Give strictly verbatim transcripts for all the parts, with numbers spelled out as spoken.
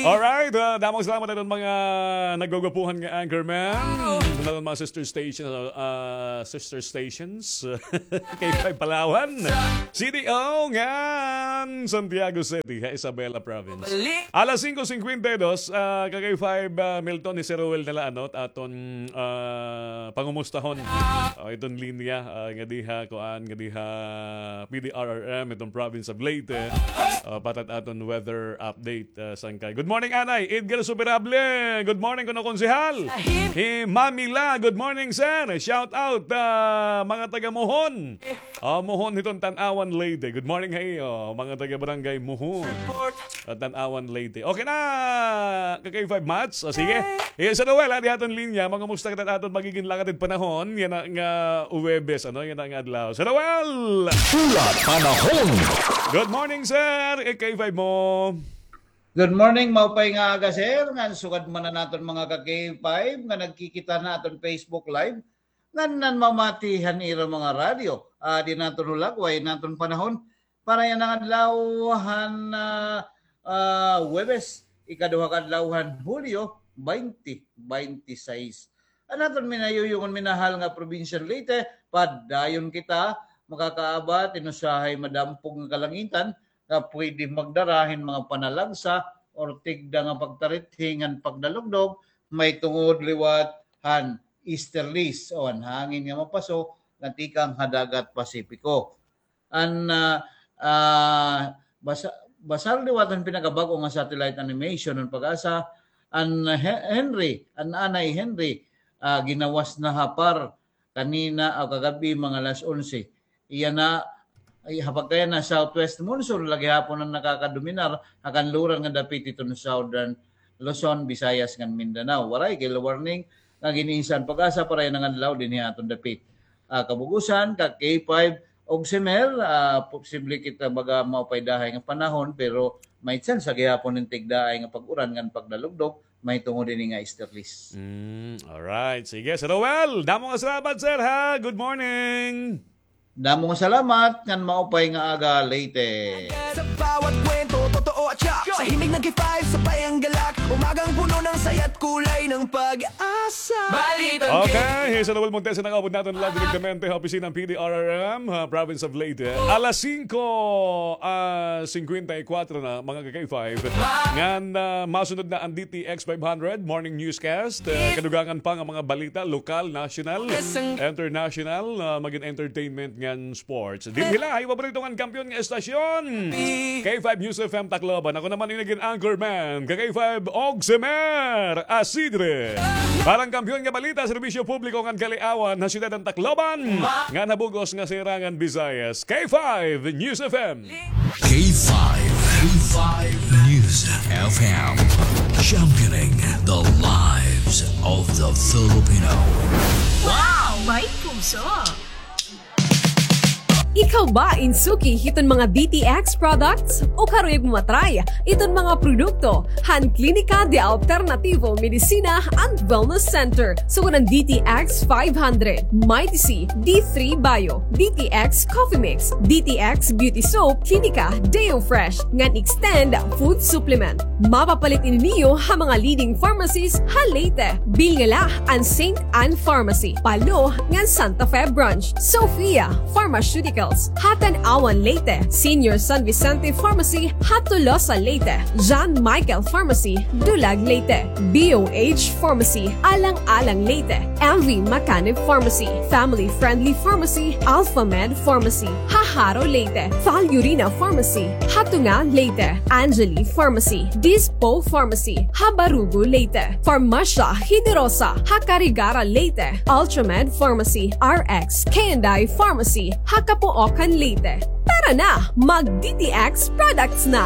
Alright, ah, damo nga salamat aton mga naggugwapuhan nga anchorman. Aton mga sister stations, ah, sister stations. K five Palawan, C D O ngan Santiago City, ha Isabela Province. Alas singko singkwenta y dos, ah, ka K five, ah, Milton, hi Sir Roel na la, ano, aton, ah, pangumustahon. Ah, iton linya, ah, nga diha, kuan, nga diha, P D R R M, iton province of Leyte. Ah, patat aton weather update, ah, sangkay. Good morning, Anay. Edgar Superable. Good morning, kuno Konsehal. Hi Mami La. Good morning, sir. Shout out, ah, mga taga Mohon. Ah, Mohon hiton Tanauan, Leyte. Good morning ha iyo, mga taga Barangay Mohon. Ah, Tanauan, Leyte. Okay na, ka K five Mats. O, sige. Yes, ano, well, ha, di aton linya. Mangumusta kita aton magigin lakad panahon. Yana nga Huwebes, ano, yana nga adlaw. Sir Noel! Pula Panahon. Good morning, sir. K five mo. Good morning, maupay nga aga, sir. Ngan sugad man an aton mga ka K five nga nagkikita han aton Facebook Live. Ngan nanmamati han ira mga radyo. Ah, di naton hulagway an aton panahon. Para yana nga adlaw han, ah, ah, Huwebes, ikaduha ka adlaw han Hulyo, twenty twenty-six. An aton minayuyugon, minahal nga probinsya han Leyte, padayon kita makakaabat hin usahay madampog nga kalangitan nga pwede magdara hin mga panalagsa or tigda nga pagtarithi ngan pagdalugdog, mahitungod liwat han easterlies o an hangin nga mapaso nga tikang ha dagat Pasipiko. An, ah, ah, basa-, basar liwat han pinakabag-o nga satellite animation han PAGASA, an He-, Henry, an Anay Henry, ah, ginawas na ha PAR kanina o kagab-i mga alas onse. Iya na, ay, ha pagkaya na southwest monsoon, la gihapon an nakakadominar ha kanluran nga dapit hiton southern Luzon, Visayas, ngan Mindanao. Waray kay warning nga gin-isa han PAGASA para yana nga adlaw dinhi ha aton dapit. Ah, kabug-osan, ka K five Ogsimer, ah, posible kita baga maupay dahay nga panahon, pero may tsansa gihapon hin tigdaay nga pag-uran ngan pagdalugdog, mahitungod hini nga easterlies. Mm, alright. Sige, Sir Noel, damo nga salamat, sir, ha? Good morning. Damo nga salamat, ngan maupay nga aga, Leyte. Sa bawat kwento, totoo at tiyak. Sa himig ng K five, sabay ang galak. Umagang puno ng saya't kulay ng pag-asa. Balitang Okay, hi Sir Noel Montesa, nakaabot naton live direktamente ha opisina han P D R R M, ha, Province of Leyte. Alas singko, ah, singkwenta y kwatro na, mga ka K five. Ngan, ah, masunod na an D T X five hundred Morning Newscast. Ah, kadugangan pa nga mga balita, lokal, national, international, ah, magin entertainment ngan sports. Dinhi la ha iyo paborito ngan kampiyon nga estasyon, K five News F M Tacloban. Ako naman an nagin anchorman, ka K five Ogsimer Asidre. Para han kampiyon nga balita, serbisyo publiko ngan kaliawan ha syudad han Tacloban, ngan ha bug-os nga sirangan Visayas. K five News F M. K five, K five News F M, championing the lives of the Filipino. Wow! May puso! Ikaw ba in suki hiton mga D T X products? O karuyag mo ma-try iton mga produkto han Klinika de Alternativo Medicina and Wellness Center, sugad han D T X five hundred, Mighty C, D three Bio, D T X Coffee Mix, D T X Beauty Soap, Klinika Deo Fresh, ngan Extend Food Supplement. Mapapalit ini niyo ha mga leading pharmacies ha Leyte. Bilin la an Saint Anne Pharmacy, Palo, ngan Santa Fe Branch, Sophia Pharmaceuticals, ha Tanauan, Leyte, Senior San Vicente Pharmacy, ha Tolosa, Leyte, John Michael Pharmacy, Dulag, Leyte, B O H Pharmacy, Alang-alang, Leyte, M V Macanib Pharmacy, Family Friendly Pharmacy, Alpha Med Pharmacy, ha Jaro, Leyte, Falurina Pharmacy, ha Tunga, Leyte, Angeli Pharmacy, Dispo Pharmacy, ha Barugo, Leyte, Farmacia Generosa, ha Carigara, Leyte, Ultramed Pharmacy, R X K and I Pharmacy, ha Capoocan, Leyte. Tara na, mag D T X products na!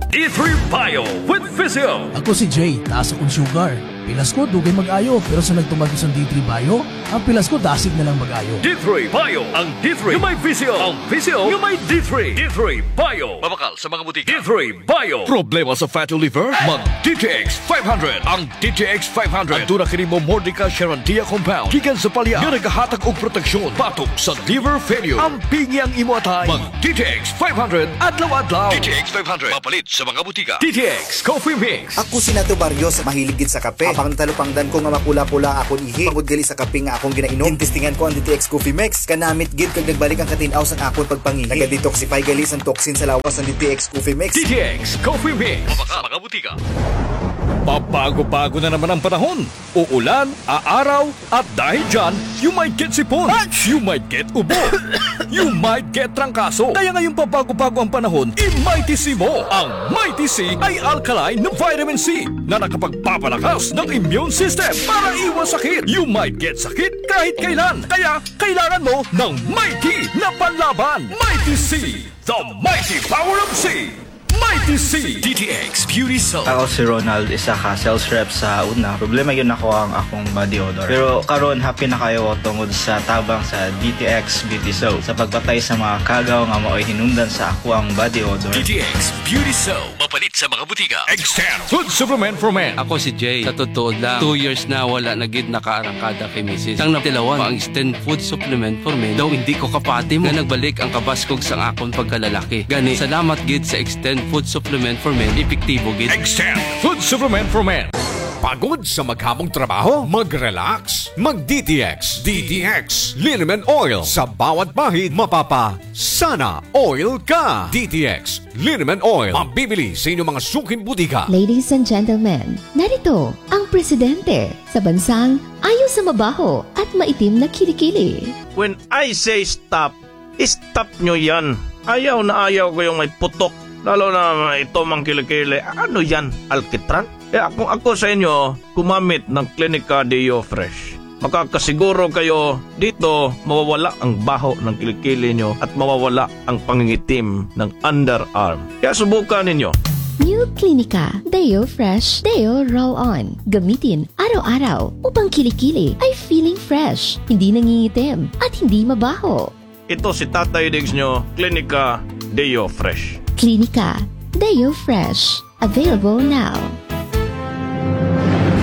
D three Bio with Physio. Ako si Jay, taas akong sugar. Pilas ko, dugay mag-ayo, pero sa nagtuman ko sa D three Bio, an pilas ko, dasig na lang mag-ayo. D three Bio, ang D three nga may visyo, ang visyo nga may D three. D three Bio. Mabakal sa mga butika. D three Bio. Problema sa fatty liver? Mag D T X five hundred. Ang D T X five hundred. Aduna kini momordica charantia compound gikan sa palya nga nagahatag og proteksyon batok sa liver failure. Ampingi ang imo atay. Mag D T X five hundred adlaw-adlaw. D T X five hundred. Mapalit sa mga butika. D T X Coffee Mix. Ako si Nato Barrios, mahilig gid sa kape. Apang natalupangdan ko nga mapula-pula akon ihi tungod gali sa kape nga akon ginainom. Gintestingan ko an D T X Coffee Mix. Kanamit gid kag nagbalik an katin-aw sang akon pagpangihi. Naga-detoxify gali sang toxin sa lawas an D T X Coffee Mix. D T X Coffee Mix. Mabakal sa mga butika. Pabago-bago na naman ang panahon. Uulan, aaraw, at dahil dyan, you might get sipon. You might get ubo. You might get trangkaso. Kaya ngayong pabago-bago ang panahon, i-Mighty C mo. Ang Mighty C ay alkaline na vitamin C na nakapagpapalakas ng immune system para iwas sakit. You might get sakit kahit kailan. Kaya kailangan mo ng Mighty na panlaban. Mighty C, the mighty power of C. Mighty C. D T X Beauty Soap. Ako si Ronald, isa ka sales rep sa una. Problema gyud nako ang akong body odor. Pero karon, happy na kaayo ako tungod sa tabang sa D T X Beauty Soap sa pagpatay sa mga kagaw nga maoy hinungdan sa akoang body odor. D T X Beauty Soap. Mapalit sa mga butika. Extend Food Supplement for Men. Ako si Jay. Sa totoo lang, two years na wala na gid nakaarangkada kay misis. Sang natilawan pa ang Extend Food Supplement for Men, daw hindi ko kapati mo nga nagbalik ang kabaskog sang akon pagkalalaki. Gani, salamat gid sa Extend Food Supplement for Men, epektibo gid. Extend Food Supplement for Men. Pagod sa maghamong trabaho? Mag-relax. Mag D T X. D T X Liniment Oil. Sa bawat bahid, mapapa-sana oil ka. D T X Liniment Oil. Mabibili sa inyong mga suking butika. Ladies and gentlemen, narito ang presidente sa bansang ayaw sa mabaho at maitim na kilikili. When I say stop, stop nyo yan. Ayaw na ayaw ko yung may putok. Lalo na ito mang kilikili. Ano yan? Alkitran? Kaya kung ako sa inyo, gumamit ng Clinica Deo Fresh. Makakasiguro kayo dito mawawala ang baho ng kilikili nyo at mawawala ang pangingitim ng underarm. Kaya subukan ninyo. New Clinica Deo Fresh Deo Roll On. Gamitin araw-araw upang kilikili ay feeling fresh, hindi nangingitim, at hindi mabaho. Ito si Tatay Diggs nyo, Clinica Deo Fresh. Clinica Deo Fresh. Available now.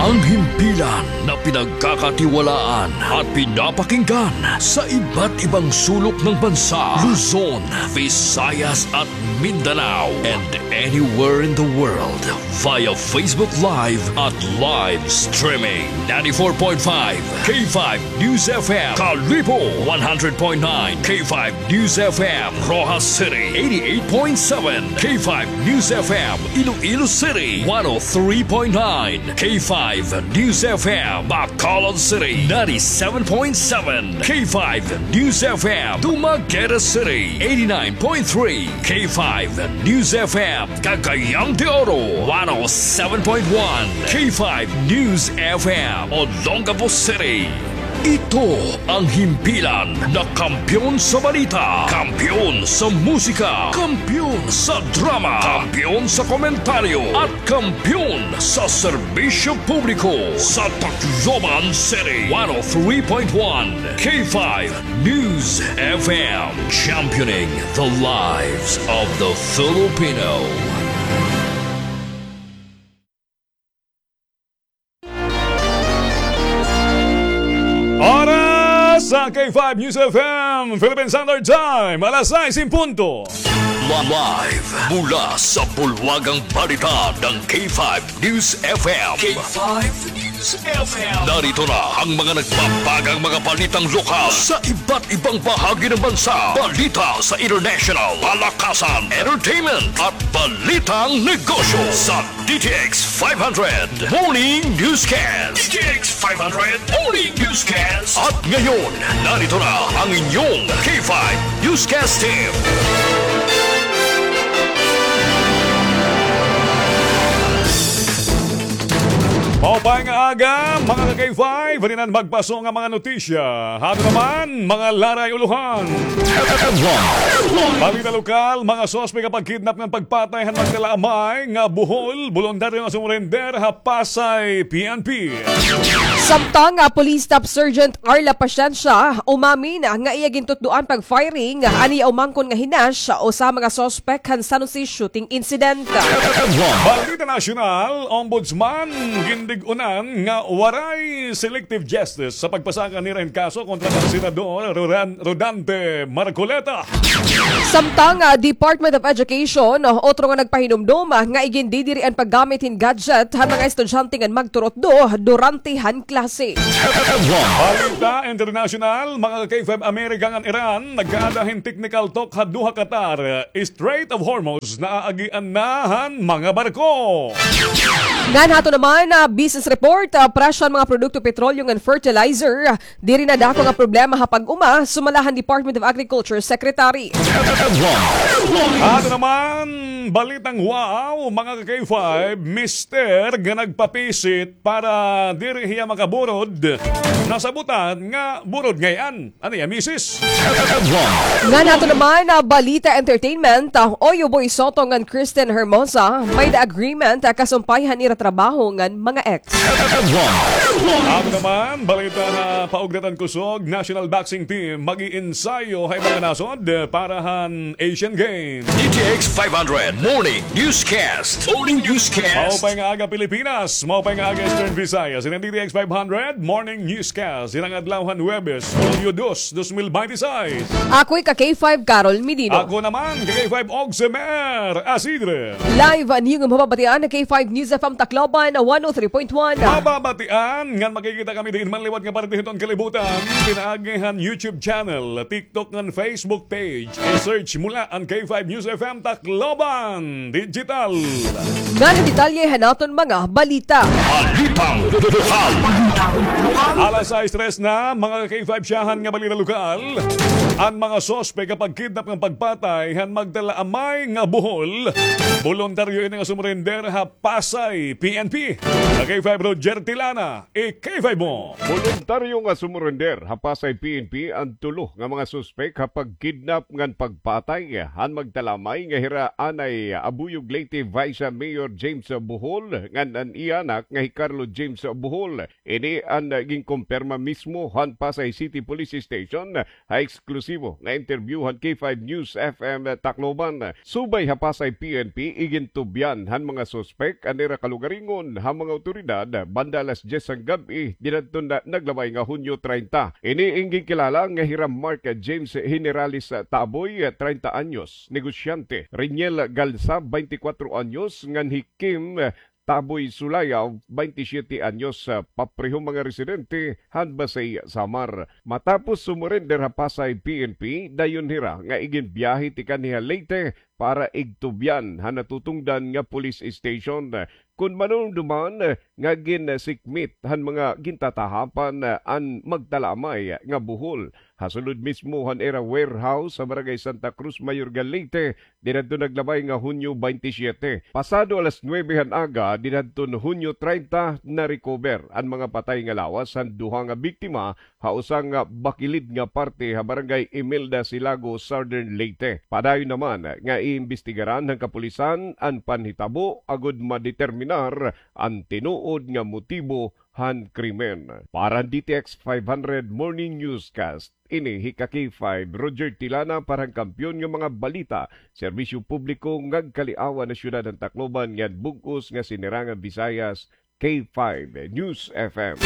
Ang himpilan na pinagkakatiwalaan at pinapakinggan sa iba't ibang sulok ng bansa, Luzon, Visayas at Mindanao, and anywhere in the world via Facebook Live at live streaming. Ninety-four point five K five News F M, Kalibo, one hundred point nine K five News F M, Roxas City, eighty-eight point seven K five News F M, Iloilo City, one oh three point nine K five News F M, Bacolod City, ninety-seven point seven K five News F M, Dumaguete City, eighty-nine point three K five News F M, Cagayan de Oro, one oh seven point one K five News F M, Olongapo City. Ito ang himpilan na kampiyon sa balita, kampiyon sa musika, kampiyon sa drama, kampiyon sa komentaryo, at kampiyon sa serbisyo publiko sa Tacloban City. One oh three point one K five News F M, championing the lives of the Filipino. Oras sa K five News F M, Philippine Standard Time, alas sais en punto. Live mula sa bulwagang balita ng K five News F M. K five News F M. Narito na ang mga nagbabagang mga balitang lokal sa iba't ibang bahagi ng bansa. Balita sa international, palakasan, entertainment, at balitang negosyo sa D T X five hundred Morning Newscast. D T X five hundred Morning Newscast. At ngayon, narito na ang inyong K five Newscast Team. Pop Maupay nga aga, mga ka-K five, rin an magpaso nga mga notisya. Hato naman, mga laray ulohan. Balita lokal, mga suspek ha pagkidnap ngan pagpatay han magdala amay nga buhol, boluntaryo nga sumurender ha Pasay P N P. Samtang, ah, Police Staff Sergeant Arla Pasensya umamin, ah, nga iya gintutdoan pag-firing, ah, an iya umangkon nga hinash, ah, usa ha mga suspek han San Jose shooting incident. Balita nasyonal, Ombudsman, gindig-unan nga waray selective justice sa pagpasaka nira hin kaso kontra kan Senador Rodan-, Rodante Marcoleta. Samtang, ah, Department of Education, ah, otro nga nagpahinumdom, ah, nga igindidiri an paggamit hin gadget han mga estudyante ngan magturutdo durante han klase. Balita international, mga ka-K five, Amerika ngan Iran nagkaada hin technical talk ha Doha, Qatar. Strait of Hormuz, naaagian na han mga barko. Ngan hato naman, ah, business report, ah, presyo han mga produkto, petrolyo ngan fertilizer, ah, diri na dako nga problema ha pag-uma, sumala han Department of Agriculture Secretary. Ato naman, balitang wow, mga ka-K five, mister nga nagpapisit para diri hiya makaburod, nasabutan nga burod ngay-an an iya misis. Ngan ato naman, ah, balita entertainment, ah, Oyo Boy Soto ngan Kristen Hermosa, may-ada agreement, ah, kasumpay han ira trabaho ngan mga ex. Ato naman, balita ha paugnatan kusog, National Boxing Team mag-iinsayo ha iba nga nasod para han Asian Games. D T X five hundred Morning Newscast. Morning Newscast. Maupay nga aga, Pilipinas. Maupay nga aga, Eastern Visayas. Ini an D T X five hundred Morning Newscast. Ini an adlaw han Huwebes, Hulyo dos, dos mil binte y seis. Ako hi ka-K five, Carol Medino. Ako naman, ka-K five, Oximer Asidre. Live an iyo nga mababatian ha K five News F M Tacloban, one oh three point one. Mababatian ngan makikita kami diin man liwat nga parte hiton kalibutan. Pinaagi han YouTube channel, TikTok ngan Facebook page. I-search mo la an K five News F M Tacloban Digital. Ngan an detalye han aton mga balita. Balitang lokal. Alas sais tres na, mga ka-K five, syahan nga balita lokal. An mga suspek ha pagkidnap ngan pagpatay han magdala amay nga buhol, boluntaryo ini nga sumurender ha Pasay P N P. Ka-K five, Roger Tilana, i-K five mo. Boluntaryo nga sumurender ha Pasay P N P an tulo nga mga suspek ha pagkidnap ngan pagpatay han magdala amay nga hira anay Abuyog, Leyte Vice Mayor James Bohol ngan an iya anak nga hi Carlo James Bohol. Ini an ginkumpirma mismo han Pasay City Police Station ha eksklusibo nga interview han K five News F M Tacloban. Subay ha Pasay P N P, igintubyan han mga suspek an ira kalugaringon han mga awtoridad banda alas dyes han gab-i dinadton naglabay nga Hunyo treinta. Ini in ginkilala nga hira Mark James Generales Taboy, treinta anyos, negosyante, Reniel Galsa, baynte kwatro anyos, ngan hi Kim Taboy Sulayaw, baynte siyete anyos, ah, papreho mga residente han Basey, Samar. Matapos sumurender ha Pasay P N P, dayon hira nga iginbiyahe tikang ha Leyte para igtubyan han natutungdan nga police station. Kon manumduman nga ginsikmit han mga gintatahapan an magdala amay nga buhol ha sulod mismo han ira warehouse sa Barangay Santa Cruz, Mayorga, Leyte, dinadto naglabay nga Hunyo baynte siyete. Pasado alas nuwebe han aga, dinadton Hunyo treinta, na-recover an mga patay nga lawas han duha nga biktima ha usa nga bakilid nga parte ha Barangay Imelda, Silago, Southern Leyte. Padayon naman nga iimbestigaran han kapulisan an panhitabo agod madeterminar an tinuod nga motibo han krimen. Para han D T X five hundred Morning Newscast, ini hi ka-K five, Roger Tilana, para han Kampiyon nga mga Balita, serbisyo publiko, nga agkaliawan ha syudad han Tacloban ngan bug-os nga sinirangan Visayas, K five News F M.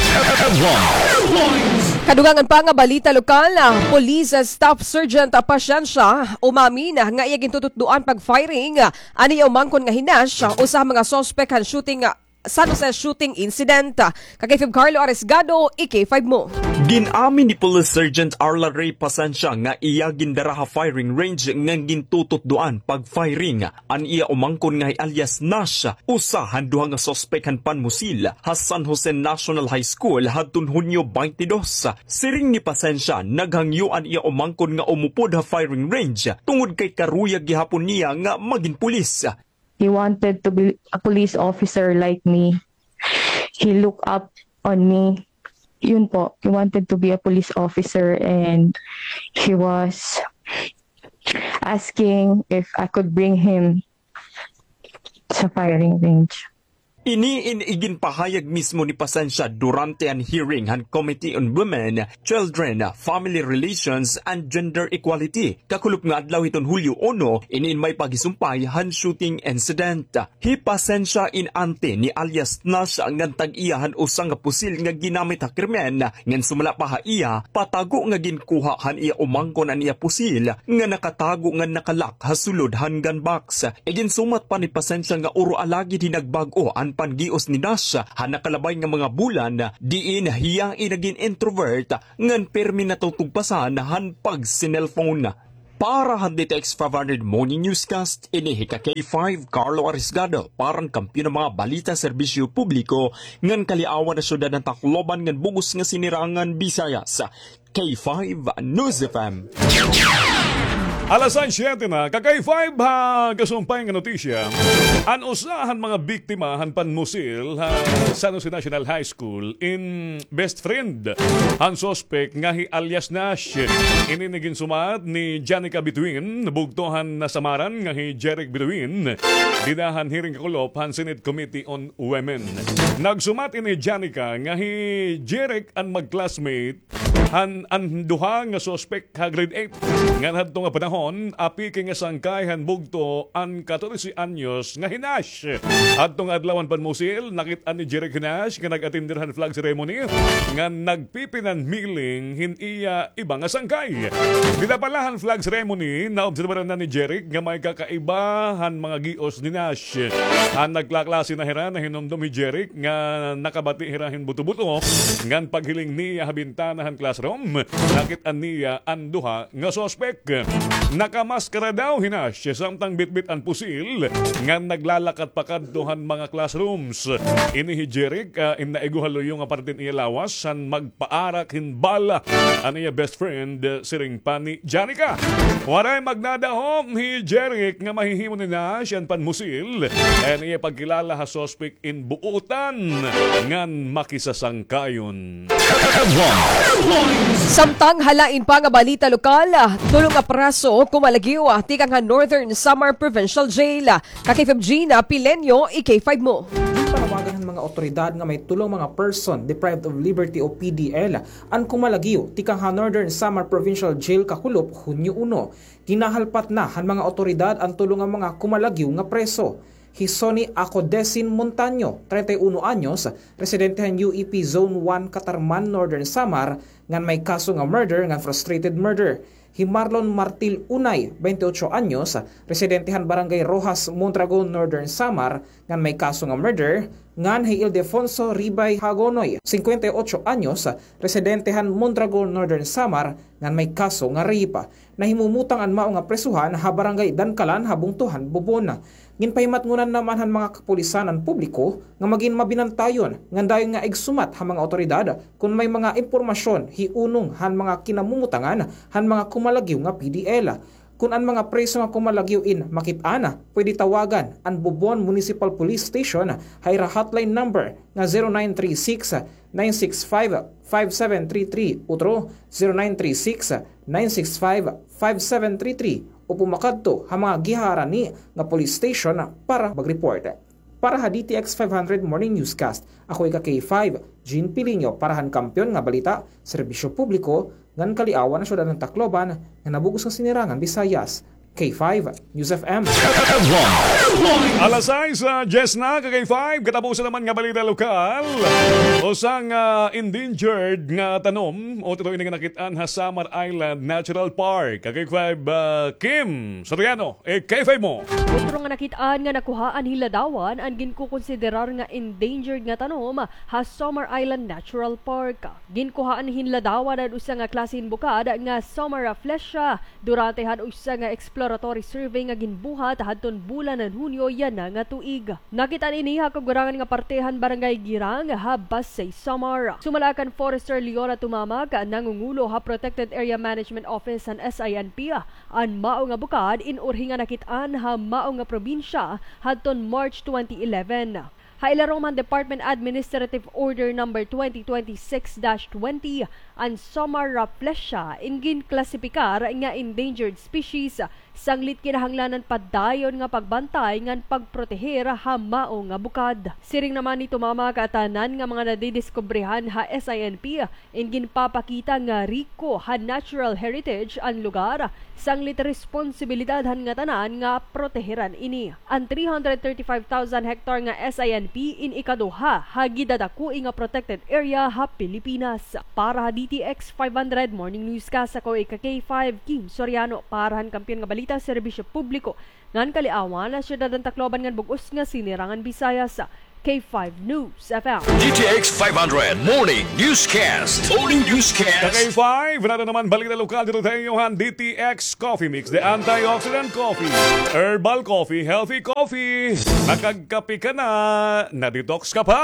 Kadugangan pa nga balita lokal, ah, Police Staff Sergeant, ah, Pasensya, umamin, ah, nga iya gintututdoan pag-firing, ah, an iya umangkon nga hinash, ah, usa ha mga suspek han shooting, ah, San Jose shooting incident. Ka-K five Carlo Arisgado, i-K five mo. Gin-amin ni Police Sergeant Arla Ray Pasensya nga iya gindara ha firing range ngan gintututdoan pag-firing an iya umangkon nga hi alias Nash, usa han duha nga suspek han panmusil ha San Jose National High School hadton Hunyo baynte dos. Siring ni Pasensya, naghangyo an iya umangkon nga umupod ha firing range tungod kay karuyag gihapon niya nga magin pulis. He wanted to be a police officer like me. he looked up on me. Yun po, he wanted to be a police officer and he was asking if I could bring him sa firing range. Ini in iginpahayag mismo ni Pasensia durante an hearing han Committee on Women, Children, Family Relations, and Gender Equality. Kakulop nga adlaw hiton Hulyo uno, ini in may paghisumpay han shooting incident. Hi Pasensia in ante ni alias Nash ngan tag-iya han usa nga pusil nga ginamit ha krimen, ngan sumala pa ha iya, patago nga ginkuha han iya umangkon an iya pusil nga nakatago ngan nakalak ha sulod han gun box. Iginsumat pa ni Pasensia nga uro alagid hinagbag-o an pangios ni Nash han nakalabay nga mga bulan, diin hiya in nagin introvert ngan pirmi natutugpasan han pagsinelpon. Para han D T X five hundred Morning Newscast, ini hi ka K five, Carlo Arisgado, para han Kampiyon nga mga balita, serbisyo publiko, ngan kaliawan han syudad han Tacloban ngan bug-os nga sinirangan Visayas. K five News F M. Alas sais siyete na, ka K five ha kasumpay nga notisya. An usa han mga biktima han panmusil ha San Jose National High School in best friend han suspek nga hi alias Nash. Ini in iginsumat ni Janica Bituin, bugto han nasamaran nga hi Jeric Bituin, dida han hearing kakulop han Senate Committee on Women. Nagsumat ini Janica nga hi Jeric an mag-classmate han an duha nga suspek ha grade eight. Ngan hadto nga panahon, apiki nga sangkay han bugto an katorse anyos nga hi Nash. Hadto nga adlaw han panmusil, nakit-an ni Jeric hi Nash nga nag-atender han flag ceremony ngan nagpipinanmiling hin iya iba nga sangkay. Dida pa la han flag ceremony, naobserbaran na ni Jeric nga may kakaiba han mga gios ni Nash. An nagkaklase na hira, nahinumdom hi Jeric nga nakabati hira hin buto-buto, ngan paghiling niya ha bintana han classroom, nakit-an niya an duha nga suspek. Nakamaskara daw hi Nash, samtang bitbit an pusil, ngan naglalakat pakadto han mga classrooms. Ini hi Jeric, ah, in naigo ha luyo nga parte han iya lawas, han magpaarak hin bala an iya best friend, ah, siring pa ni Janica. Waray magdadahom hi Jeric nga mahihimo ni Nash an panmusil. Kay an iya pagkilala ha suspek in buotan ngan makisasangkayon. Samtang ha lain pa nga balita lokal, tulo nga preso kumalagyo tikang ha Northern Samar Provincial Jail. Ka K five Gina Pileño, i K five mo. Ginpanawagan han mga awtoridad nga may tulo nga mga person deprived of liberty o P D L an kumalagyo tikang ha Northern Samar Provincial Jail kakulop Hunyo uno. Ginahalpat na han mga awtoridad an tulo nga mga kumalagyo nga preso. Hi Sonny Acodesin Montaño, treinta y uno anyos, residente han U E P Zone one, Catarman, Northern Samar, ngan may kaso nga murder ngan frustrated murder. Hi Marlon Martil Unay, baynte otso anyos, residente han Barangay Roxas, Mondragon, Northern Samar, ngan may kaso nga murder, ngan hi Ildefonso Ribay Hagonoy, singkwenta y otso anyos, residente han Mondragon, Northern Samar, ngan may kaso nga rape. Nahimumutang an mao nga presohan ha Barangay Dankalan ha bungto han Bobon. Ginpahimatngonan naman han mga kapulisan an publiko nga magin mabinantayon ngan dayon nga igsumat ha mga awtoridad kon may mga impormasyon hiunong han mga kinamumutangan han mga kumalagyo nga P D L. Kon an mga preso nga kumalagyo in makit-an, pwede tawagan an Bobon Municipal Police Station ha ira hotline number nga zero nine three six, nine six five, five seven three three, otro zero nine three six, nine six five, five seven three three, o pumakadto ha mga gihaharani nga police station para mag-report. Para ha D T X five hundred Morning Newscast, ako ika K five, Jean Piliño, para han Kampiyon nga Balita, Serbisyo Publiko, ngan kaliawan han syudad han Tacloban, nga nabug-os nga sinirangan Visayas. K five News F M. Alas sais, ah, diyes na, ka K five, katapusan naman nga balita lokal. Usa nga endangered nga tanom, o tutoy ini nga nakit-an ha Samar Island Natural Park. Ka K five, ah, Kim Soriano, eh, K five mo. Otro nga nakit-an nga nakuhaan hin ladawan an ginkukonsiderar nga endangered nga tanom ha Samar Island Natural Park. Ginkuhaan hin ladawan an usa nga klase hin bukad nga Samaraflesia durante han usa nga exploratory survey nga ginbuhat hadton bulan han Hunyo yana nga tuig. Nakit-an ini ha kagurangan nga parte han Barangay Girang ha Basey, Samar. Sumala kan Forester Leona Tumamak, nangungulo ha Protected Area Management Office han S I N P, an mao nga bukad in urhi nga nakit-an ha mao nga probinsya hadton March twenty eleven. Ha ilarom han Department Administrative Order Number twenty twenty-six dash twenty, an Somma rafflesia in ginklasipikar nga endangered species, sanglit kinahanglanan pa dayon nga pagbantay ngan pagproteher ha mao nga bukad. Siring naman ni Tumama, katanan nga mga nadidiskubrihan ha S I N P in ginpapakita nga riko han natural heritage an lugar, sanglit responsibilidad han ngatanan nga proteheran ini. An three hundred thirty-five thousand hektar nga S I N P in ikaduha ha gidadakoi nga protected area ha Pilipinas. Para ha D T X five hundred Morning Newscast, ako ika K five, Kim Soriano. Para han Kampiyon nga Balita, Serbisyo Publiko ngan Kaliawan, Syudad han Tacloban ngan bug-os nga Sinirangan Visayas, K five News F M. D T X five hundred Morning Newscast. Morning Newscast. Ka K five, nato naman balita lokal dito sa iyo han D T X Coffee Mix, the antioxidant coffee, herbal coffee, healthy coffee. Nakagkape ka na, na-detox ka pa.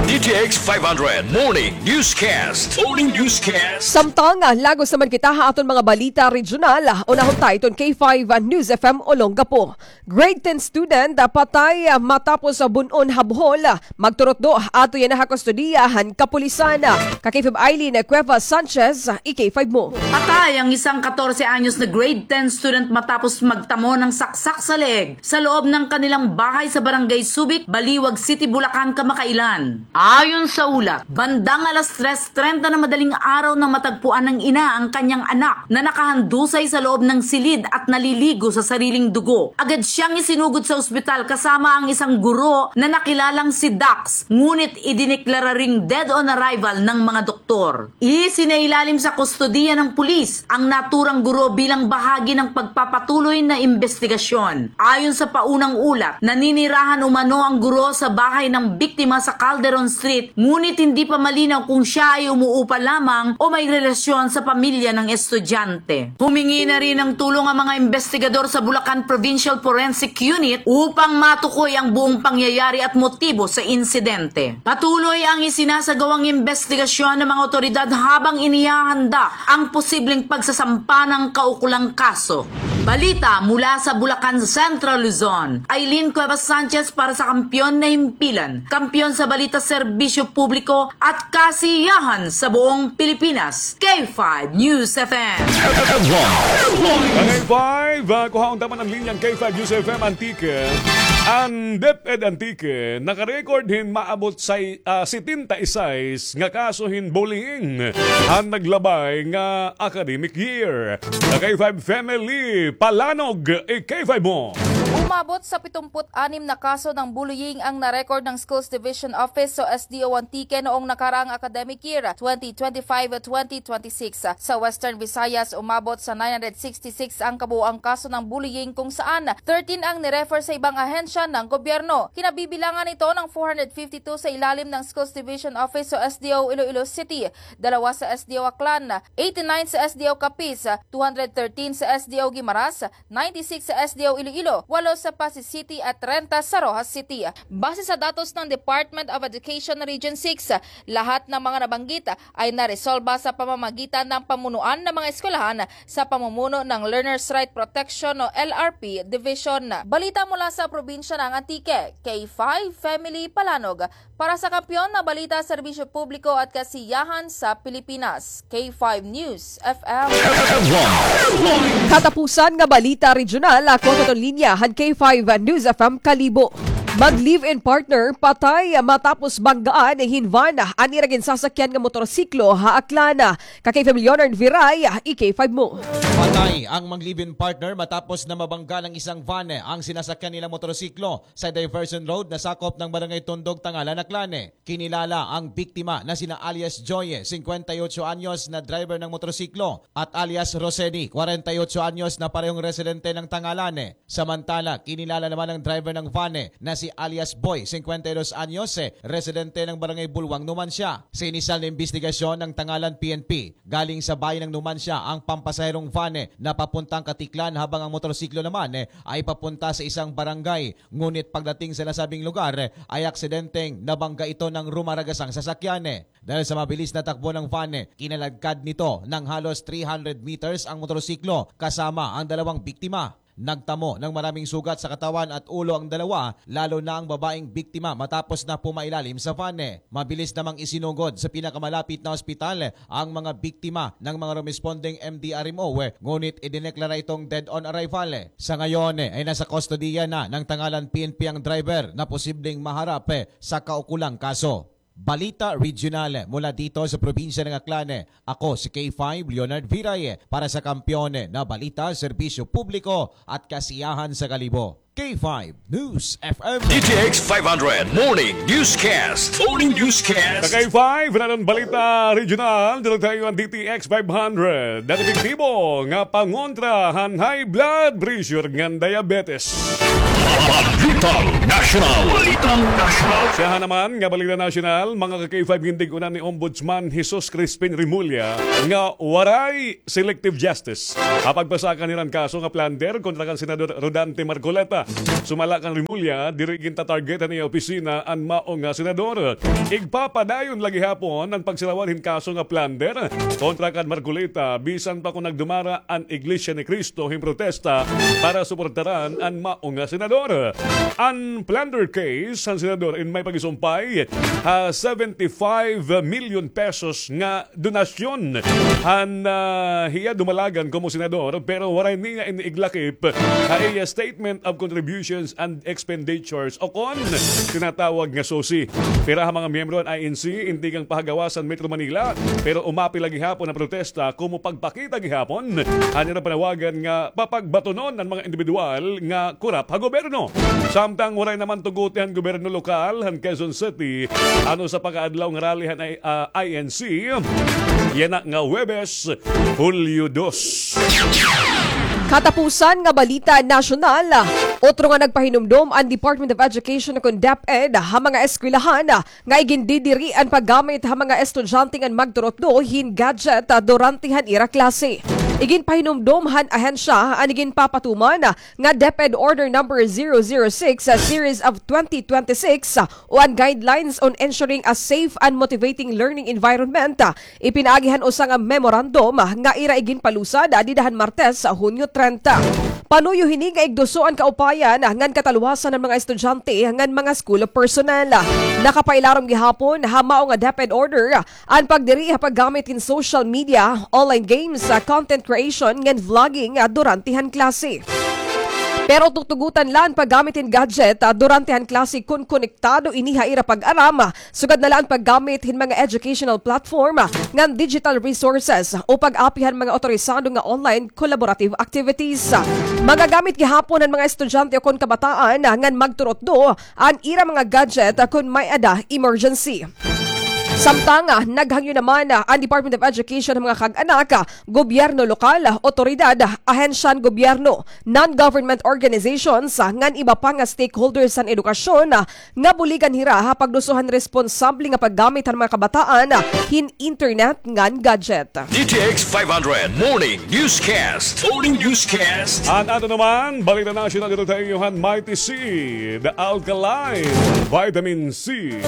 D T X five hundred Morning Newscast. Morning Newscast. Samtang, ah, lagos naman kita ha aton mga balita regional, ah, unahon ta iton K five, ah, News F M Olongapo. Grade ten student, ah, patay, ah, matapos, ah, bun-on ha Bohol, ah, magturutdo, ah, ato yana ha kustodiya han kapulisan, ah. Ka K five Eileen, ah, Cuevas Sanchez, ah, i K five mo. Patay ang isang katorse anyos na grade ten student matapos magtamo ng saksak sa leeg sa loob ng kanilang bahay sa Barangay Subic, Baliwag City, Bulacan, kamakailan. Ayon sa ulat, bandang alas tres trenta na madaling araw na matagpuan ng ina ang kanyang anak na nakahandusay sa loob ng silid at naliligo sa sariling dugo. Agad siyang isinugod sa ospital kasama ang isang guro na nakilalang si Dax, ngunit idineklara ring dead on arrival ng mga doktor. Isinailalim sa kustodiya ng pulis ang naturang guro bilang bahagi ng pagpapatuloy na imbestigasyon. Ayon sa paunang ulat, naninirahan umano ang guro sa bahay ng biktima sa Calderon Street, ngunit hindi pa malinaw kung siya ay umuupa lamang o may relasyon sa pamilya ng estudyante. Humingi na rin ng tulong ang mga imbestigador sa Bulacan Provincial Forensic Unit upang matukoy ang buong pangyayari at motibo sa insidente. Patuloy ang isinasagawang imbestigasyon ng mga otoridad habang inihahanda ang posibleng pagsasampa ng kaukulang kaso. Balita mula sa Bulacan, Central Luzon. Eileen Cuevas Sanchez para sa Kampiyon na Himpilan, kampiyon sa balita, serbisyo publiko at kasiyahan sa buong Pilipinas. K five News F M. Ka K five, ah, kuhaon ta man an linya han K five News F M Antique. An DepEd Antique nakarecord hin maabot sa, ah, setenta y seis nga kaso hin bullying han naglabay nga academic year. Ka K five Family Palanog, i K five mo. Umabot sa pitumput anim na kaso ng bullying ang na-record ng Schools Division Office o S D O Antique noong nakaraang academic year, twenty twenty-five twenty twenty-six. Sa Western Visayas, umabot sa nine hundred sixty-six ang kabuuang kaso ng bullying, kung saan thirteen ang ni-refer sa ibang ahensya ng gobyerno. Kinabibilangan ito ng four hundred fifty-two sa ilalim ng Schools Division Office o S D O Iloilo City, dalawa sa S D O Aklan, eighty-nine sa S D O Capiz, two hundred thirteen sa S D O Guimaras, ninety-six sa S D O Iloilo, walo sa Passi City at trenta sa Roxas City. Base sa datos ng Department of Education Region six, lahat ng mga nabanggit ay naresolba sa pamamagitan ng pamunuan ng mga eskwelahan sa pamumuno ng Learners' Right Protection o L R P Division. Balita mula sa probinsya ng Antique, K five Family Palanog, para sa Kampiyon na Balita, Serbisyo Publiko at Kasiyahan sa Pilipinas, K five News F M. Katapusan nga balita regional, ako sa aton linya han K five News F M Kalibo. Mag-live-in partner patay matapos banggaan hin van an ira ginsasakyan nga motorsiklo ha Aklan. Ka K five Leonard Viray, i K five mo. Patay ang mag-live-in partner matapos na mabangga ng isang van ang sinasakyan nilang motorsiklo sa Diversion Road na sakop ng Barangay Tondog, Tangalan, Aklan. Kinilala ang biktima na sina alias Joy, singkwenta y otso anyos, na driver ng motorsiklo, at alias Roseni, kwarenta y otso anyos, na parehong residente ng Tangalan. Samantala, kinilala naman ang driver ng van na si alias Boy, singkwenta y dos anyos, residente ng Barangay Bulwang, Numancia. Sa inisal na imbestigasyon ng Tangalan P N P, galing sa bayan ng Numancia ang pampasaherong van na papuntang Caticlan, habang ang motorsiklo naman ay papunta sa isang barangay. Ngunit pagdating sa nasabing lugar, ay aksidenteng nabangga ito ng rumaragasang sasakyan. Dahil sa mabilis na takbo ng van, kinaladkad nito ng halos three hundred meters ang motorsiklo kasama ang dalawang biktima. Nagtamo ng maraming sugat sa katawan at ulo ang dalawa, lalo na ang babaeng biktima matapos na pumailalim sa van. Mabilis namang isinugod sa pinakamalapit na ospital ang mga biktima ng mga rumesponding M D R M O, ngunit idineklara itong dead on arrival. Sa ngayon ay nasa kustodiya na ng Tangalan P N P ang driver na posibleng maharap sa kaukulang kaso. Balita Regional mula dito sa probinsya ng Aklan. Ako si K five Leonard Viray para sa Kampiyon na Balita, Serbisyo Publiko at Kasiyahan sa Kalibo. K five News F M. D T X five hundred Morning Newscast. Morning Newscast. Sa K five, nanon Balita Regional, dito tayo ang D T X five hundred. Dati epektibo nga pangontra han high blood pressure ngan diabetes. Balitang National. Balitang National. Siya naman nga Balita National, mga ka-K five, gintig-unan ni Ombudsman Jesus Crispin Remulla nga waray selective justice ha pagpasaka han ira kaso nga plunder kontra kan Senador Rodante Marcoleta. Sumala kan Remulla, diri ginta-target han iya opisina an mao nga senador. Igpapadayon la gihapon an pagsilawan hin kaso nga plunder kontra kan Marcoleta, bisan pa kon nagdumara an Iglesia ni Cristo hin protesta para suportaran an mao nga senador. An plunder case han senador in may pagisumpay ha seventy-five million pesos nga donasyon han, ah, hiya dumalagan komo senador, pero waray niya ini iglakip ha iya Statement of Contributions and Expenditures o kon tinatawag nga SOCE. Pira ha mga miyembro han I N C in tikang pahagawas han Metro Manila, pero umapil la gihapon an protesta komo pagpakita gihapon han ira panawagan nga papagbatunon an mga indibidwal nga korap ha gobyerno. Samtang waray naman tuguti han gobyerno lokal han Quezon City an usa pa ka adlaw nga rally han I-, ah, I N C, yana nga Huwebes, Hulyo dos. Katapusan nga balita nasyonal, otro nga nagpahinumdom an Department of Education kon DepEd ha mga eskwelahan nga igindidiri an paggamit ha mga estudyante ngan magturutdo hin gadget, ah, durante han ira klase. Iginpahinumdom han ahensya an iginpapatuman nga DepEd Order Number zero zero six, ah, Series of twenty twenty-six, ah, o an Guidelines on Ensuring a Safe and Motivating Learning Environment, ah, ipinaagi han usa nga memorandum, ah, nga ira iginpalusad, ah, dida han Martes, ah, Hunyo trenta. Panuyo hini nga igduso an kaupayan, ah, ngan katalwasan han mga estudyante ngan mga school personnel. Nakapailarom gihapon ha mao nga DepEd order, ah, an pagdiri ha paggamit hin social media, online games, ah, content creation ngan vlogging, ah, durante han klase. Pero tutugutan la an paggamit hin gadget, ah, durante han klase kon konektado ini ha ira pag-aram, ah, sugad na la an paggamit hin mga educational platform, ah, ngan digital resources o pag-api han mga otorisado nga online collaborative activities. Magagamit gihapon han mga estudyante o kon kabataan, ah, ngan magturutdo an ira mga gadget, ah, kon may-ada emergency. Samtang, ah, naghangyo naman, ah, an Department of Education han mga kag-anak, ah, gobyerno lokal, ah, otoridad, ah, ahensya han gobyerno, non-government organizations, ah, ngan iba pa nga stakeholders han edukasyon, ah, nga buligan hira ha pagduso han responsable nga paggamit han mga kabataan, ah, hin internet ngan gadget. D T X five hundred Morning Newscast. Morning Newscast. An ato naman balita nasyonal didto ha iyo han Mighty C, the alkaline vitamin C.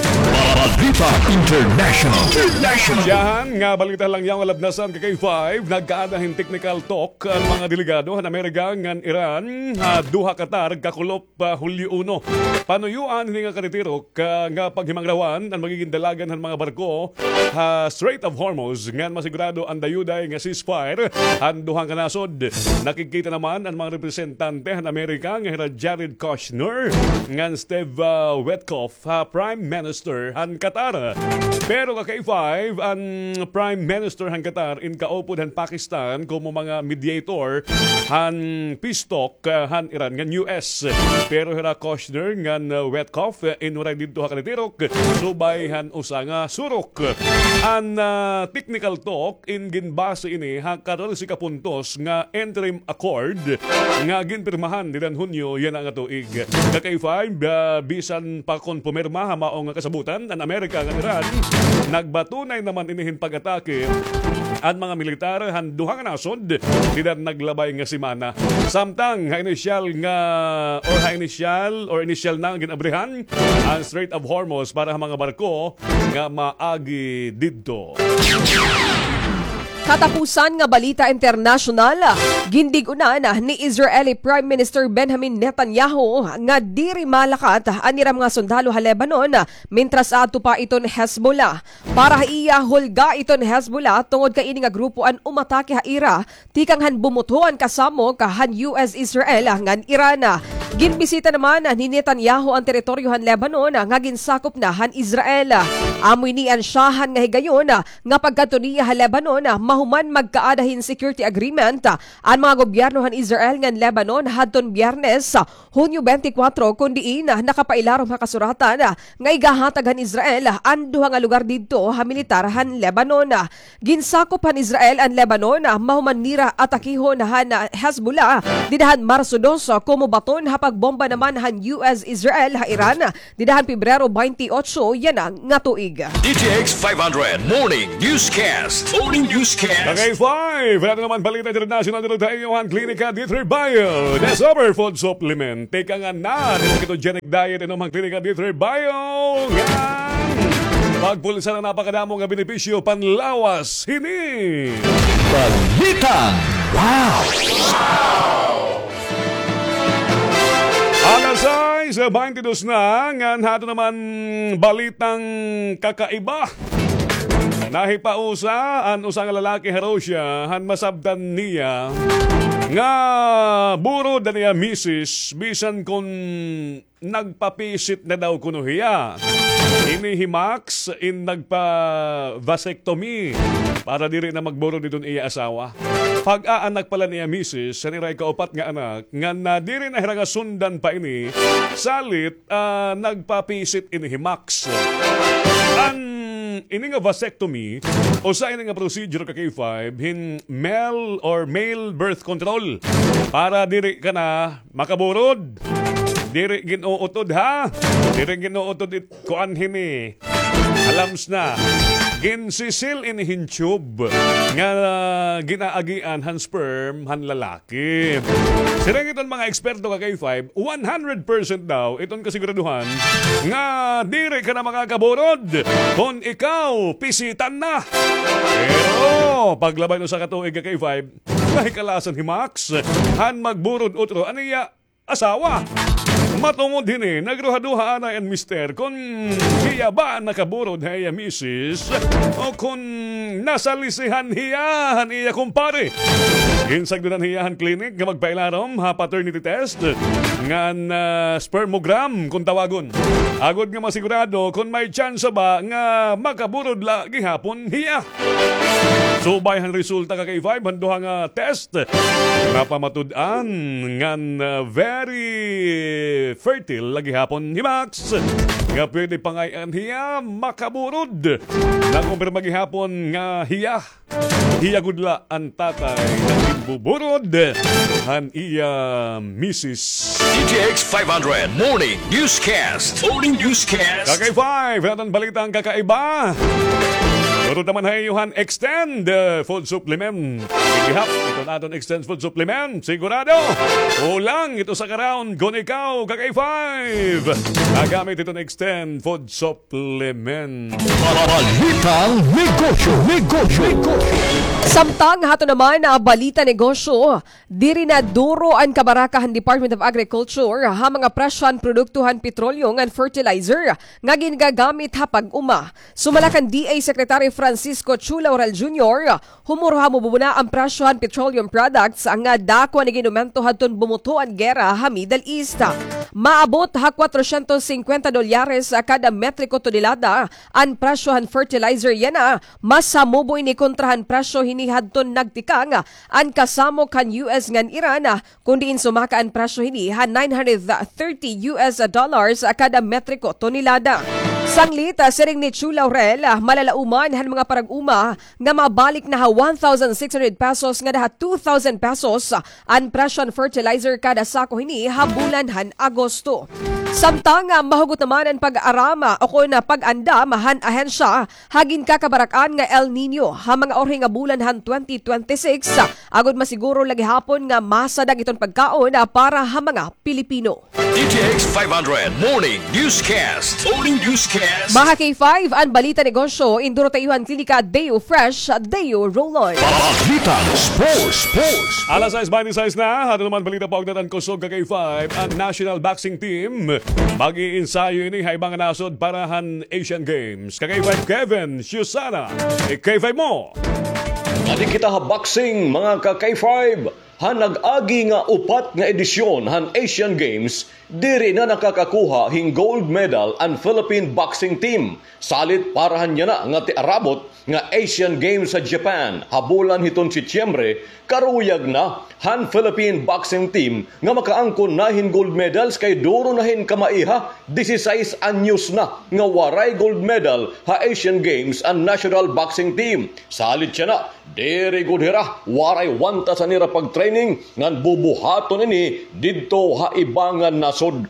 Balita International. International. Siyahan nga balita la niyan nga labnasan ka K five, nagkaada hin technical talk an mga delegado han Amerika ngan Iran ha Doha, Qatar, kakulop pa Hulyo uno. Panuyoan hini nga katitirok, ah, nga paghimangrawan an magigin dalagan han mga barko ha Strait of Hormuz ngan masigurado an dayuday nga ceasefire han duha nga nasod. Nakigkita naman an mga representante han Amerika nga hira Jared Kushner ngan Steve, ah, Witkoff ha Prime Minister han Qatar. Pero ka K five, an Prime Minister han Qatar in kaupod han Pakistan komo mga mediator han peace talk, ah, han Iran ngan U S. Pero hira Kushner ngan, ah, Witkoff, ah, in waray didto ha katitirok, subay han usa nga surok. An, ah, technical talk in ginbase ini ha katorse ka puntos nga interim accord nga ginpirmahan dida han Hunyo yana nga tuig. Ka K five, ah, bisan pa kon pumirma ha mao nga kasabutan an Amerika ngan Iran, nagbatunay naman ini hin pag-atake an mga militar han duha nga nasod dida han naglabay nga semana. Samtang ha inisyal nga, or ha inisyal, or inisyal na nga gin-abrihan an Strait of Hormuz para ha mga barko nga maagi didto. Katapusan nga balita internasyonal, gindig-unan ni Israeli Prime Minister Benjamin Netanyahu nga diri malakat an ira mga sundalo ha Lebanon, mintras aadto pa iton Hezbollah. Para ha iya, hulga iton Hezbollah tungod kay ini nga grupo an umatake ha ira tikang han bumutho an kasamok han U S Israel ngan Iran. Ginbisita naman ni Netanyahu an teritoryo han Lebanon nga ginsakop na han Israel. Amo ini an syahan nga higayon nga pagkadto niya ha Lebanon, mahuman magkaada hin security agreement an mga gobyerno han Israel ngan Lebanon hadton Biyernes, Hunyo twenty-four, kon diin nakapailarom ha kasuratan nga igahatag han Israel an duha nga lugar didto ha militar han Lebanon. Ginsakop han Israel an Lebanon mahuman nira atakihon han Hezbollah dida han Marso dos, komo baton ha pagbomba naman han U S Israel ha Iran dida han Pebrero twenty-eight yana nga tuig. D T X five hundred Morning Newscast. Morning Newscast. Kagay five, ato naman balita international didto ha iyo han Klinika D three Bio. Discover food supplement. Tikang an na, ketogenic diet, inom han Klinika D three Bio. Ngan pagpulsa na napakadamo nga benepisyo panlawas hini. Balita. Wow! Alas sais beintidos na, ngan ha aton naman balitang kakaiba. Nahipausa an usa nga lalaki ha Russia han masabtan niya nga burod an iya misis bisan kon nagpapisit na daw kuno hiya. Ini hi Max in nagpa-vasectomy para diri na magburod iton iya asawa. Pag-aanak pa la an iya misis han ira ikaupat nga anak, ngan nadiri na hira nga sundan pa ini, salit, ah, nagpapisit ini hi Max. An ini nga vasectomy, usa ini nga procedure ka K five hin male or male birth control. Para diri ka na makaburod. Diri gin-uutod, ha? Diri gin-uutod it kuan hini. Alams na. Ginsisil ini hin tube nga, ah, ginaagian han sperm han lalaki. Siring iton mga eksperto ka K five, one hundred percent daw iton kasiguraduhan nga diri ka na makakaburod kon ikaw pisitan na. Pero paglabay hin usa ka tuig ka K five, nahikalasan hi Max han magburod utro an iya asawa. Matungod hini, nagduha-duha anay an mister kon hiya ba nakaburod ha iya misis o kon nasalisihan hiya han iya kumpare. Ginsagdonan hiya han klinik nga magpailarom ha paternity test ngan, ah, spermogram kon tawagon, agod nga masigurado kon may tsansa ba nga makaburod la gihapon hiya. Subay han resulta ka K five han duha nga test, napamatud-an ngan, ah, very fertile la gihapon hi Max, nga pwede pangay-an hiya makaburod. Nakumpirma gihapon nga hiya, hiya gud la an tatay nga ginbuburod han iya misis. D T X five hundred Morning Newscast. Morning Newscast. Kakay five, aton balitang kakaiba. Turod naman ha iyo han Extend, uh, food supplement. Gihap iton aton Extend food supplement, sigurado kulang ito sa ka-round kon ikaw, Kakay five, nagamit iton Extend food supplement. Balitang negosyo, negosyo, negosyo. Samtang ha aton naman, ah, balita negosyo, diri na duro an kabaraka han Department of Agriculture ha mga presyo han produkto han petrolyo ngan fertilizer nga gingagamit ha pag-uma. Sumala kan D A Secretary Francisco Chu Laurel Junior, humurhamo bubuna an presyo han petroleum products nga dako an nag-inumento hadton bumutho an gera ha Middle East. Maabot ha kwatrosyentos singkwenta dolyares kada metriko tonelada an presyo han fertilizer yana. Mas hamubo ini kontra han presyo hini hadton nagtikang an kasamok han U S ngan Iran, kon diin sumaka an presyo hini ha nine hundred thirty U S dollars kada metriko tonelada. Sanglit, ah, siring ni Chu Laurel, ah, malalauman han mga parag-uma nga mabalik na ha one thousand six hundred pesos ngada ha two thousand pesos, ah, an presyo han fertilizer kada sako hini ha bulan han Agosto. Samtang, ah, mahugot naman an pag-aram, ah, o kon, ah, pag-andam han ahensya ha ginkakabarak-an nga El Niño ha mga urhi nga bulan han twenty twenty-six, agod masiguro la gihapon nga masadag iton pagkaon, ah, para ha mga Pilipino. D T X five hundred Morning Newscast. Morning Newscast. Mga K five, an balita negosyo, in duro ha iyo han klinika Deo Fresh, Deo Roll-On. Balitang sports, sports. Alas sais baynte sais na, aton naman balita paugnat han kusog, ka K five, an national boxing team mag-iinsayo ini ha iba nga nasod para han Asian Games. Ka K five Kevin Susana, i-K five mo. Adi kita ha boxing, mga ka K five. Han nag-agi nga upat nga edisyon han Asian Games, diri na nakakakuha hin gold medal an Philippine boxing team. Salit para han yana nga tiarabot nga Asian Games ha Japan ha bulan hiton Setyembre, karuyag na han Philippine boxing team nga makaangkon na hin gold medals kay duro na hin kamaiha, disisais anyos na nga waray gold medal ha Asian Games an national boxing team. Salit yana, diri gud hira waray wantas han ira pagtraining ngan bubuhaton ini didto ha iba nga nasod.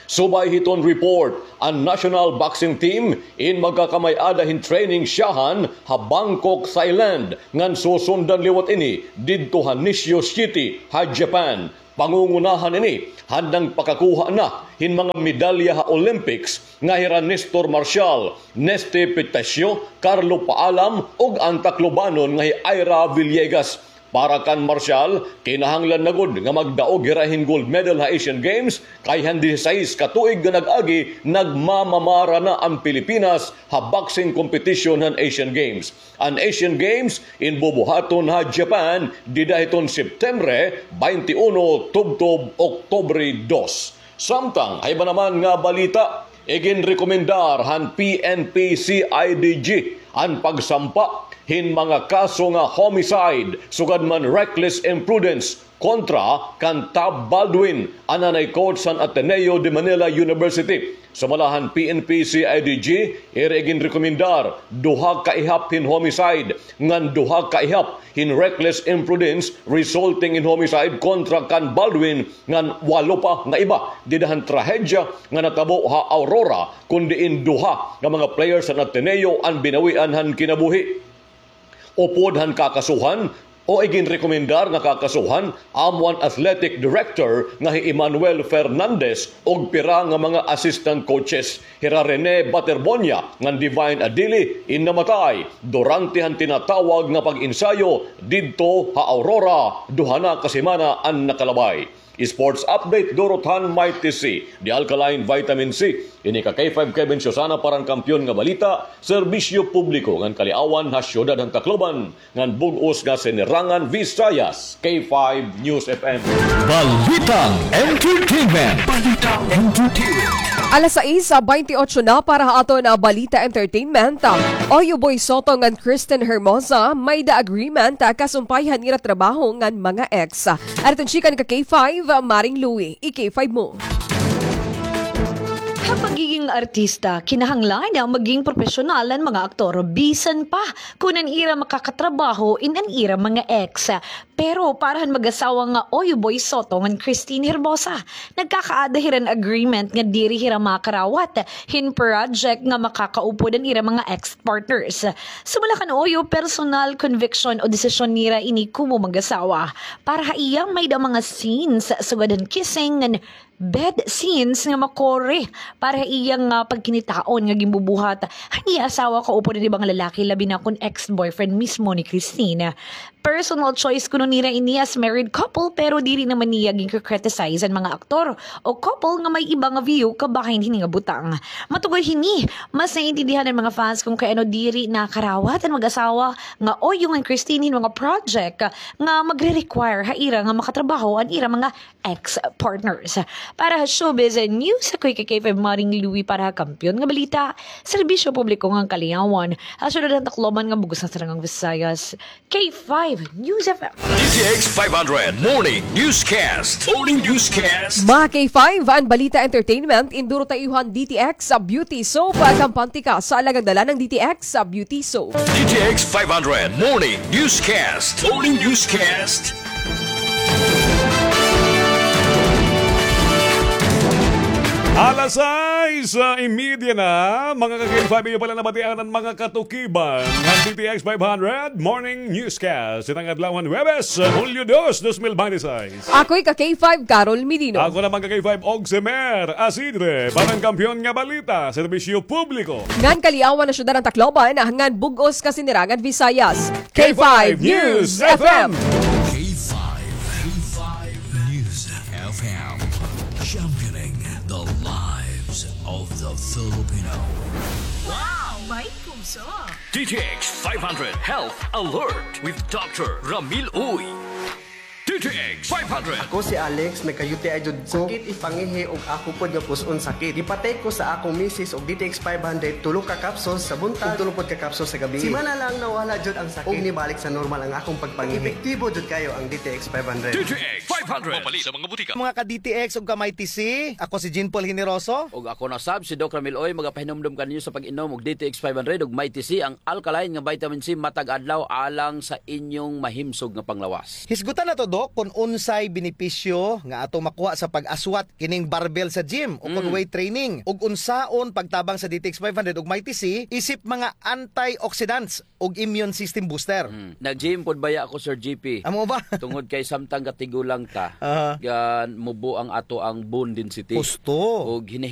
Subay hiton report, an national boxing team in magkakamay-ada hin training syahan ha Bangkok, Thailand, ngan susundan liwat ini didto ha Nishio City ha Japan. Pangungunahan ini han nangpakakuha na hin mga medalya ha Olympics nga hira Nestor Marcial, Nesty Petacio, Carlo Paalam, ug an Taclobanon nga hi Ira Villegas. Para kan Marcial, kinahanglan na gud nga magdaog hira hin gold medal ha Asian Games, kay han disisais ka tuig nga nag-agi, nagmamamara na an Pilipinas ha boxing competition han Asian Games. An Asian Games in bubuhaton ha Japan dida hiton September baynte uno tubtob Oktubre dos. Samtang ha iba naman nga balita, iginrekomendar han P N P C I D G an pagsampa hin mga kaso nga homicide sugad man reckless imprudence kontra kan Tab Baldwin, an anay coach han Ateneo de Manila University. Sumala han P N P C I D G, ira iginrekomendar duha ka ihap hin homicide ngan duha ka ihap hin reckless imprudence resulting in homicide kontra kan Baldwin ngan walo pa nga iba dida han trahedya nga natabo ha Aurora, kun diin duha nga mga players han Ateneo an binawian han kinabuhi. Upod han kakasuhan o iginrekomendar nga kakasuhan, amo an athletic director nga hi Emmanuel Fernandez ug pira nga mga assistant coaches. Hira Rene Baterbonia ngan Divine Adili in namatay durante han tinatawag nga pag-ensayo didto ha Aurora duha na ka semana an nakalabay. Sports update, duro han Mighty C, The Alkaline Vitamin C. Ini ka K five Kevin Susana para han Kampiyon nga Balita, Serbisyo Publiko ngan Kaliawan ha Syudad han Tacloban ngan bug-os nga Sinirangan Visayas, K five News F M. Balitang entertainment. Balitang entertainment. Alas sais, ah, baynte otso na para ha aton, ah, balita entertainment. Ah, Oyo Boy Soto ngan Kristen Hermosa, may-da agreement, ah, kasumpay han ira trabaho ngan mga ex. Aton chika ka K five, ah, Maring Louie, i-K five mo. Ha pagiging artista, kinahanglan nga maging propesyonal an mga aktor, bisan pa kon an ira makakatrabaho in an ira mga ex. Pero para han mag-asawa nga Oyo Boy Soto ngan Christine Herbosa, nagkakaada hira hin agreement nga diri hira makarawat hin project nga makakaupod an ira mga ex-partners. Sumala kan Oyo, personal conviction o desisyon nira ini komo mag-asawa. Para ha iya, may-da mga scenes sugad han kissing ngan bed scenes nga makuri para ha iya nga pagkinitaon nga ginbubuhat han iya asawa kaupod an iba nga lalaki, labi na kon ex-boyfriend mismo ni Christine. Personal choice kuno nira ini as married couple, pero diri naman niya ginkikriticize an mga aktor o couple nga may iba nga view kabahin hini nga butang. Matugod hini, mas naiintindihan an mga fans kon kay ano diri nakarawat an mag-asawa nga Oyo ngan Christine hin mga project nga magre-require ha ira nga makatrabaho an ira mga ex-partners. Para ha Showbiz News, ako hi K five Maring Louie para ha Kampiyon nga Balita, Serbisyo Publiko ngan Kaliawan, ha Syudad han Tacloban ngan bug-os nga Sinirangan Visayas, K five News F M. D T X five hundred Morning Newscast. Morning Newscast. Mga K five, an balita entertainment, in duro ha iyo han D T X Beauty Soap. Kampante ka sa alagang dala ng D T X Beauty Soap. D T X five hundred Morning Newscast. Morning Newscast. Alas sais, ah, y media na, mga ka-K five, iyo pala nabatian an mga katukiban han D T X five hundred Morning Newscast. Itang adlaw han Huwebes, Hulyo dos, dos mil binte y seis. Ako'y ka-K five, Carol Medino. Ako naman ka-K five, Ogsemer Asidre, para han Kampiyon nga Balita, Serbisyo Publiko. Ngan kaliawan han syudad han Tacloban, ngan bug-os kasinirangan Visayas. K five News F M. K five, K five News F M, championing the lives of the Filipino. Wow! May puso! D T X five hundred Health Alert with Doctor Ramil Uy. D T X five hundred. Ako si Alex, nagka-U T I jud ko. Sakit it pangihi ug ako pod nga pus-on sakit. Gipatake ko sa akong misis og D T X five hundred, tulo ka capsules sa buntag, ug tulo pod ka capsules sa gabii. Simana lang nawala jud ang sakit. Ug nibalik sa normal ang akong pagpangihi. Epektibo jud kayo ang D T X five hundred. D T X five hundred. Mapalit sa mga butika. Mga ka-D T X ug ka-Mighty C, ako si Jean Paul Generoso. Ug ako na sab si Doc Ramil Uy, magapahinumdom kaninyo sa pag-inom og D T X five hundred ug Mighty C, ang alkaline nga vitamin C matag adlaw alang sa inyong mahimsog nga panglawas. Hisgutan nato, Doc, kon unsay benepisyo nga ato makuha sa pag-aswat kining barbell sa gym o kon Mm. weight training, ug unsaon pagtabang sa D T X five hundred ug Mighty C isip mga antioxidants ug immune system booster. Mm. Nag-gym pod baya ako, Sir G P. Amo ba? Tungod kay samtang gatigulang ta, Aha. gan mubo ang ato ang bone density. Husto. Ug hinahinay